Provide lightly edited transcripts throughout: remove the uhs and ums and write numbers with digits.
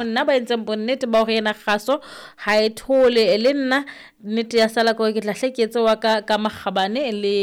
Nna ba entseng bonnete ba hore ena kgaso ha e thole le nna nnete ya sala ke hore ke tla hle ke etse wa ka ka makgabane le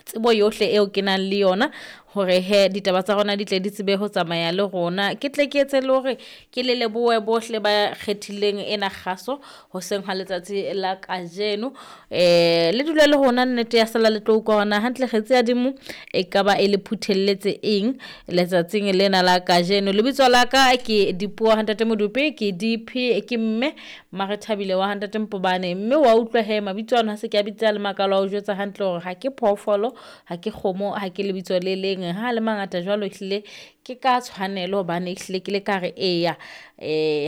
tsebo yohle eo ke nang le yona hore he ditaba tsa rona di tle di tsebe ho tsamaya le rona. Ke tle ke etse le hore ke le lebohe bohle ba kgethileng ena kgaso hoseng ha letsatsi la kajeno. Le dule le rona nnete ya sala le tlo utlwa hore na hantle kgetsi ya dimo e ka ba e le phuthelletse eng letsatsing lena la kajeno. Lebitso la ka ke Dipuo ha Ntate Modupe, ke DP, ke mme Marethabile wa ha Ntate Mpobane. Mme wa utlwa he mabitso ano ha se ke a bitsa le makalo a o jwetsa hantle hore ha ke phoofolo, ha ke kgomo, ha ke lebitso le leng. Ha le mangata jwalo ehlile ke ka tshwanelo hobane ehlile ke le ka re eya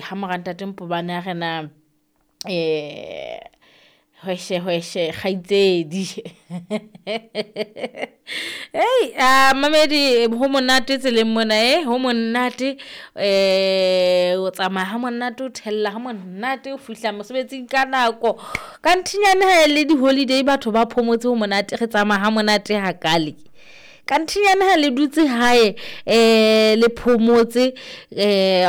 ha mora Ntate Mpobane a re na hweshe hweshe kgaitsedi. Ei a mamedi ho monate tseleng mona ho monate, o tsamaya ha monate, o thella ha monate, o fihla mosebetsing ka nako. Ka nthinyane ha e le di-holiday batho ba phomotse ho monate, re tsamaya ha monate hakale. Ka nthinyane ha le dutse hae le phomotse,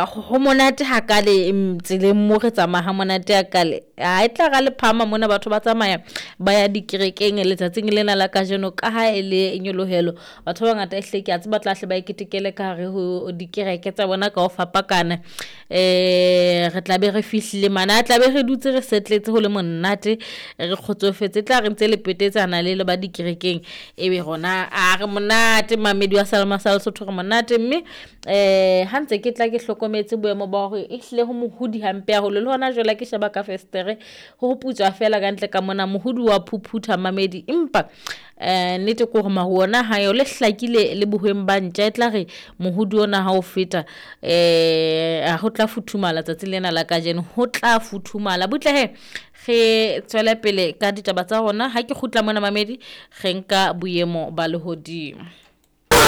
ho monate hakale tseleng mo re tsamaya ha monate hakale. Ha e tla ra le phama mona batho ba tsamaya ba ya dikerekeng letsatsing lena la kajeno ka ha e le nyolohelo. Batho ba bangata ehlile ke a tseba tla hle ba e ketekele ka hare ho dikereke tsa bona ka ho fapakana. Re tla be re fihlile mane, a tla be re dutse re setletse ho le monate, re kgotsofetse. Tla re ntse le petetsana le le ba dikerekeng, ebe rona a re monate mamedi wa Salema sa Lesotho re monate. Mme ha ntse ke tla ke hlokometse boemo ba hore ehlile ho mohudi hampe haholo le hona jwale ha ke sheba ka festere ho putswa fela ka ntle ka mona mohudi wa phuphutha mamedi. Empa nnete ke hore maru ona ha yo le hlakile le bohweng ba ntja, e tla re mohudi ona ha o feta ho tla futhumala tsatsing lena la kajeno, ho tla futhumala. Butle he re tswele pele ka ditaba tsa rona. Ha ke kgutla mona mamedi re nka boemo ba lehodimo.